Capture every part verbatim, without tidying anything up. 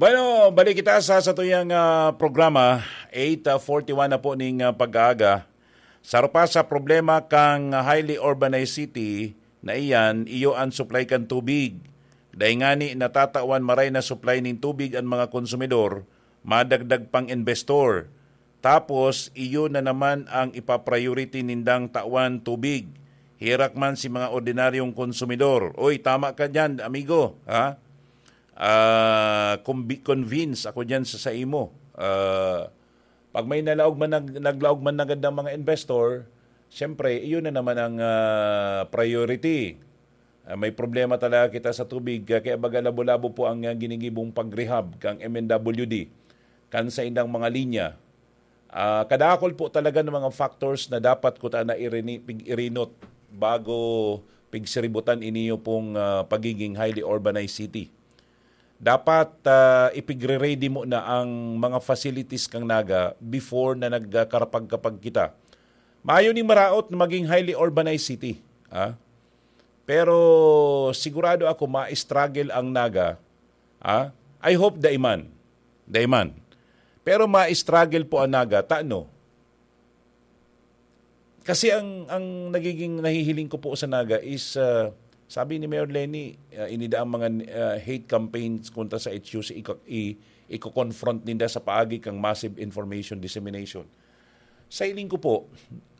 Bueno, balik kita sa satuyang ah, programa, eight forty-one na po ning ah, pag-aaga. Saro pa sa problema kang highly urbanized city na iyan, iyo ang supply kan tubig. Dahil ngani natatawan maray na supply ning tubig ang mga konsumidor, madagdag pang investor. Tapos, iyo na naman ang ipa-priority nindang tawan tubig. Herak man si mga ordinaryong konsumidor. Oy, tama ka dyan, amigo. Ha? Ah, kumbi-, convince ako dyan sa, sa imo. Ah, pag may nalaog man, nag-, naglaog man agad ng mga investor, siyempre, iyon na naman ang ah, priority. Ah, may problema talaga kita sa tubig, kaya baga labo-labo po ang ah, ginigibong pag-rehab kang M N W D, kan sa indang mga linya. Ah, kadakol po talaga ng mga factors na dapat ko ta na irini-, pig-irinot bago pigsiributan iniyo pong ah, pagiging highly urbanized city. Dapat ah, ipigre-ready mo na ang mga facilities kang Naga before na nagkarapag-kapag kita. Mayo ning maraot na maging highly urbanized city. Ah? Pero sigurado ako ma-struggle ang Naga. Ah? I hope daiman. Daiman. Pero ma-struggle po ang Naga. Tano? Kasi ang ang nagiging nahihiling ko po sa Naga is ah, sabi ni Mayor Lenny, ah, inida ang mga ah, hate campaigns kontra sa H U C, iko, i, iko-confront ninda sa paagi kang massive information dissemination. Sa hiling ko po,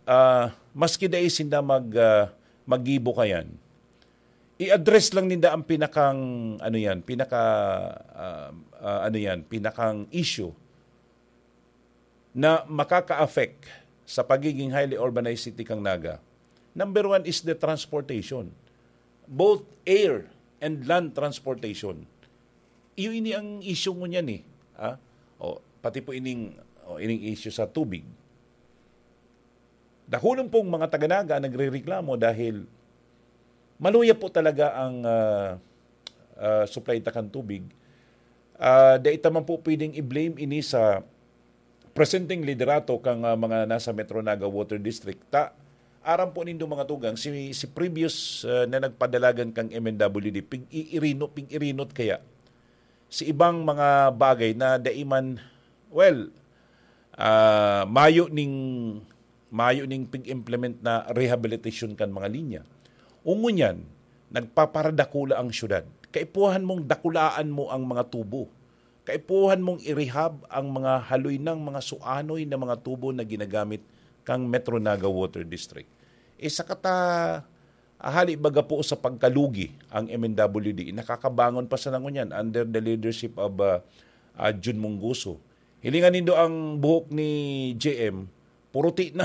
ah, maski dai sinda mag ah, maggibo kayan, i-address lang ninda ang pinakang ano yan, pinaka ah, ah, ano yan, pinakang issue na makaka-affect sa pagiging highly urbanized city kang Naga. Number one is the transportation, both air and land transportation. Iyo ini ang issue ngunyan eh. Ah? O, pati po ining, o, ining issue sa tubig. Dakulon pong mga taga-Naga ang nagrereklamo dahil maluya po talaga ang ah, ah, supply ta kan tubig. Ah, dai ta man po pwedeng i-blame ini sa presenteng liderato kang ah, mga nasa Metro Naga Water District. Ta, aram po nindo mga tugang, si, si previous ah, na nagpadalagan kang M N W D, pig-iirinot, pig-irinot kaya. Si ibang mga bagay na dai man, well, ah, mayo ning, mayo ning pig-implement na rehabilitation kan mga linya. Ngunyan, nagpaparadakula ang syudad. Kaipuhan mong dakulaan mo ang mga tubo. Kaipuhan mong i-rehab ang mga haloy ng mga suanoy na mga tubo na ginagamit kang Metro Naga Water District. Isa ka ta, ah, hali baga po sa pagkalugi ang M N W D. Nakakabangon pa sana ngunyan under the leadership of ah, ah, Jun Mungguso. Hilingan nindo ang buhok ni J M, puruti